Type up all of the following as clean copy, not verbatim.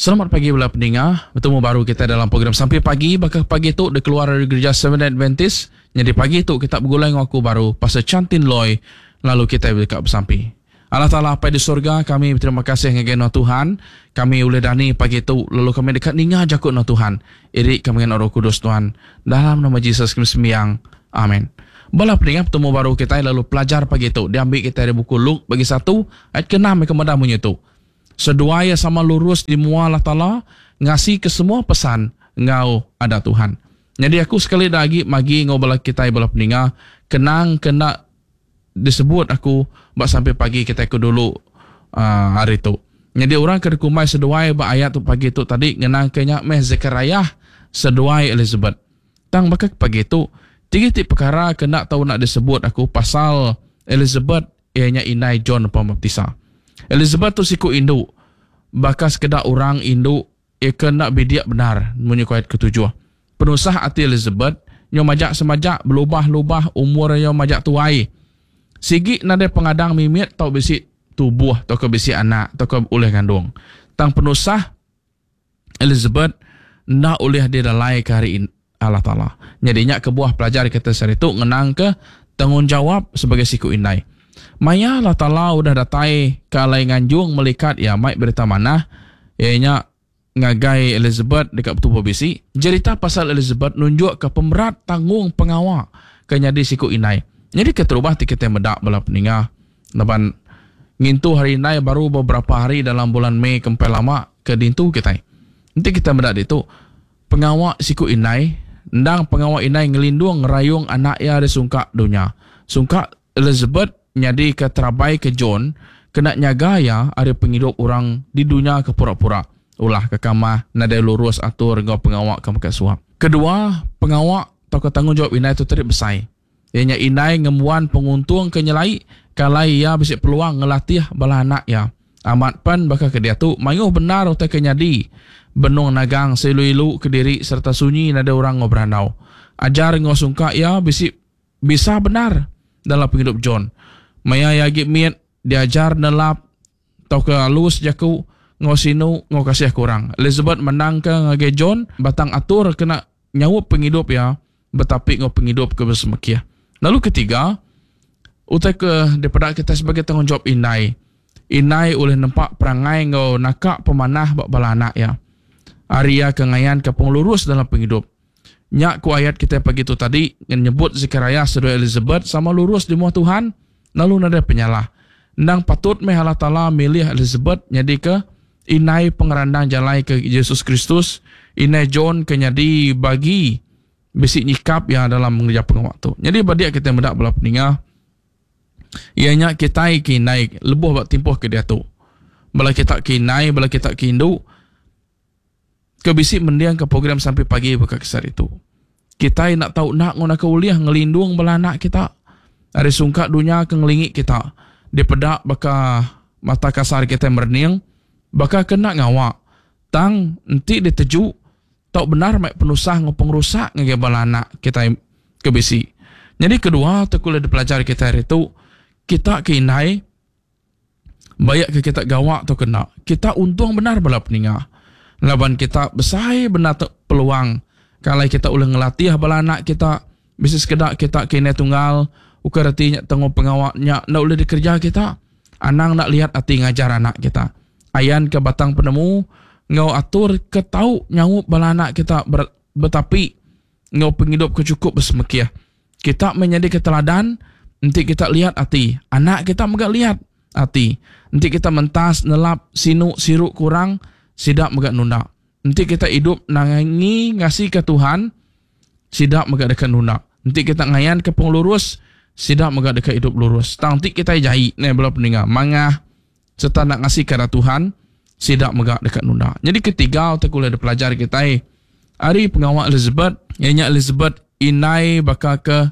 Selamat pagi bala peninga. Betemu baru kita dalam program Sampi Pagi baka pagi tu dikeluar ari Gereja Seventh Adventist. Nyadi pagi tu kita begulai enggau aku baru Pastor Chantin Loy lalu kitai deka besampi. Allah Taala Apai di sorga kami beterima kasih ngagai nuan Tuhan. Kami ulih dani pagi tu lalu kami deka ninga jaku nuan Tuhan. Iri kami ngena Roh Kudus Tuhan. Dalam nama Jesus kami sembiang. Amen. Bala peninga betemu baru kitai lalu pelajar pagi tu diambi kitai ari buku Luke bagi satu ayat ke-6 ke meda munyi tu. Seduai iya sama lurus di mua Allah Taala, ngasika semua pesan enggau adat Tuhan. Nyadi aku sekali da agi magi enggau bala kitai bala peninga, kenang ke enda disebut aku ba sampai pagi kitai ke dulu aaa hari tu. Nyadi orang ke dikumbai seduai ba ayat tu pagi tu tadi ngenangka nya meh Zekariah seduai Elizabeth. Tang baka ke pagi tu, tiga iti pekara ke enda tau enda disebut aku pasal Elizabeth iya nya indai John Pemaptisa. Elizabeth tu siku indu, baka sekeda orang indu iya ke enda bidik bendar munyi ku ayat ketujuh. Penusah ati Elizabeth nyau majak semajak belubah-lubah umur iya majak tuai. Sigi nadai pengadang mimit tau bisi tubuh tauka bisi anak tauka ulih ngandung. Tang penusah Elizabeth enda ulih didalaika ari Allah Taala. Nyadi nya kebuah pelajar kita sehari tu ngenangka tanggungjawap sebagai siku indai. Maya Allah Taala udah datai ke alai nganjung melikat iya mai berita manah, iya nya ngagai Elizabeth deka betubuh bisi, jerita pasal Elizabeth nunjukka pemerat tanggung pengawa ke nyadi siku indai. Nyadi keterubah ti kitai meda bala peninga laban ngintu Hari Indai baru beberapa hari dalam bulan Mei ke empai lama ke dintu kitai. Enti kitai meda ditu, Pengawa siku indai, endang pengawa indai ngelindung ngerayung anak iya ari sungkak dunya. Sungkak Elizabeth nyadika terabai ke John kena nyaga iya ari pengidup orang di dunya ke pura-pura, ulah ke kamah, nadai lurus atur enggau pengawa ke mega suap. Kedua, pengawa tauka tanggungjawap indai tu tadi besai. Iya nya indai ngembuan penguntung ke nyelai ke alai iya bisi peluang ngelatih bala anak iya. Amat pen baka ke diatu mayuh bendar utai ke nyadi benung nagang seilu-ilu kediri sereta sunyi nadai orang enggau berandau. Ajar enggau sungkak iya bisi bisa bendar dalam pengidup John. Maya iya agi mit diajar nelap tauka alus jaku enggau sinu enggau kasih ke orang. Elizabeth mandangka ngagai John batang atur kena nyaup pengidup iya betapi enggau pengidup ke besemekih. Lalu ketiga, utai ke dipeda kitai sebagai tanggungjawap indai. Indai ulih nempa perangai enggau naka pemanah ba bala anak iya. Ari iya ke ngayanka pengelurus dalam pengidup. Nya ku ayat kitai pagi tu tadi nyebut Zekariah seduai Elizabeth sama lurus di mua Tuhan lalu nadai penyalah. Endang patut meh Allah Taala milih Elizabeth nyadika Indai pengerandang jalai ke Jesus Kristus, indai John ke nyadi bagi bisi nyikap iya dalam ngereja pengawa tu. Nyadi ba dia kitai meda bala peninga iya nya kitai ke indai lebuh ba timpuh ke diatu. Bala kita ke indai, bala kita ke indu ke bisi mendingka program sampai pagi baka ke sehari tu. Kitai enda tau enda nguna ke ulih ngelindung bala anak kita ari sungkak dunya ke ngelingi kita dipeda baka mata kasar kitai merening baka ke enda ngawa tang enti diteju tau bendar mai penusah enggau pengerusak ngagai bala anak kitai ke bisi. Nyadi kedua tu ke ulih dipelajar kitai ari tu kita ke indai Baik ke kita gawa tauka enda, kita untung bendar bala peninga. Laban kita besai bendar tu peluang ke alai kita ulih ngelatih bala anak kita. Bisi sekeda kita ke indai tunggal, ukai reti nya tanggung pengawa nya enda ulih dikereja kita. Anang enda liat ati ngajar anak kita. Ayanka batang penemu enggau atur ke tau nyaup bala anak kita betapi enggau pengidup ke chukup besemekih. Kita meh nyadika teladan enti kita liat ati, anak kita mega liat ati. Enti kita mentas, nelap, sinu, siru ke orang, sida mega nunda. Enti kita idup nangi ngasika Tuhan, sida mega deka nunda. Enti kita ngayanka pengelurus, sida mega deka idup lurus. Tang enti kitai jai, neh bala peninga, mangah sereta enda ngasika adat Tuhan, sida mega deka nunda. Nyadi ketiga utai ke ulih dipelajar kitai ari pengawa Elizabeth, iya nya Elizabeth indai baka ke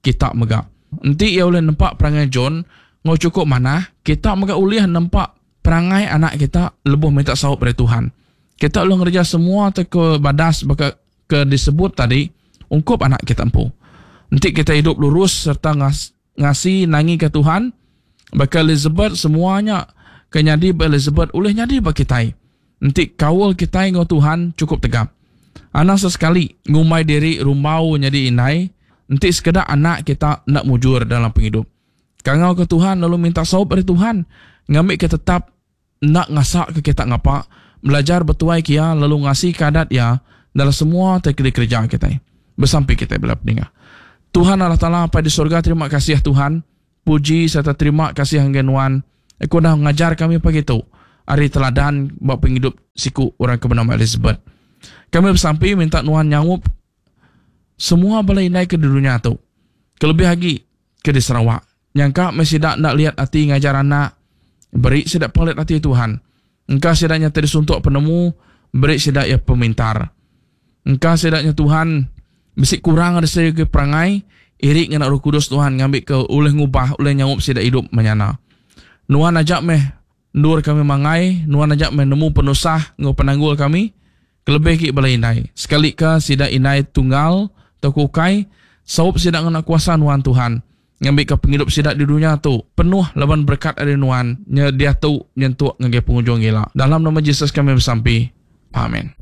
kita mega. Enti iya ulih nempa perangai John enggau chukup manah, kita mega ulih nempa perangai anak kita lebuh minta saup ari Tuhan. Kita ulih ngereja semua utai ke badas baka ke disebut tadi ungkup anak kita empu. Enti kita idup lurus sereta ngasi nangika Tuhan, baka Elizabeth semua nya ke nyadi ba Elizabeth ulih nyadi ba kitai. Enti kaul kitai enggau Tuhan chukup tegap. Anang sesekali ngumbai diri rumbau nyadi indai enti sekeda anak kita enda mujur dalam pengidup. Kangau ke Tuhan lalu minta saup ari Tuhan ngambika tetap enda ngasaka kita ngapa, belajar betuai ke Iya lalu ngasika adat Iya dalam semua ti dikereja kitai. Besampi kitai bela peninga. Tuhan Allah Taala Apai di sorga terima kasih Tuhan, puji sereta terima kasih ngagai Nuan ke udah ngajar kami pagi tu ari teladan ba pengidup siku orang ke benama Elizabeth. Kami besampi minta Nuan nyaup semua bala indai ke di dunya tu kelebih agi ke di Sarawak. Nyangka meh sida enda liat ati ngajar anak, beri sida pengelit ati Tuhan. Engka sida nya ti disuntuk penemu, beri sida iya pemintar. Engka sida nya Tuhan bisi kurang ari segi perangai, iri ngena Roh Kudus Tuhan ngambika ulih ngubah, ulih nyaup sida idup menyana. Nuan aja meh endur kami mangai, Nuan aja meh nemu penusah enggau penanggul kami, kelebih agi bala indai. Sekalika sida indai tunggal tauka ukai, saup sida ngena kuasa Nuan Tuhan. Ngambika pengidup sida di dunya tu penuh laban berekat ari Nuan nya diatu nyentuk ngagai pengujung ila. Dalam nama Jesus kami besampi. Amen.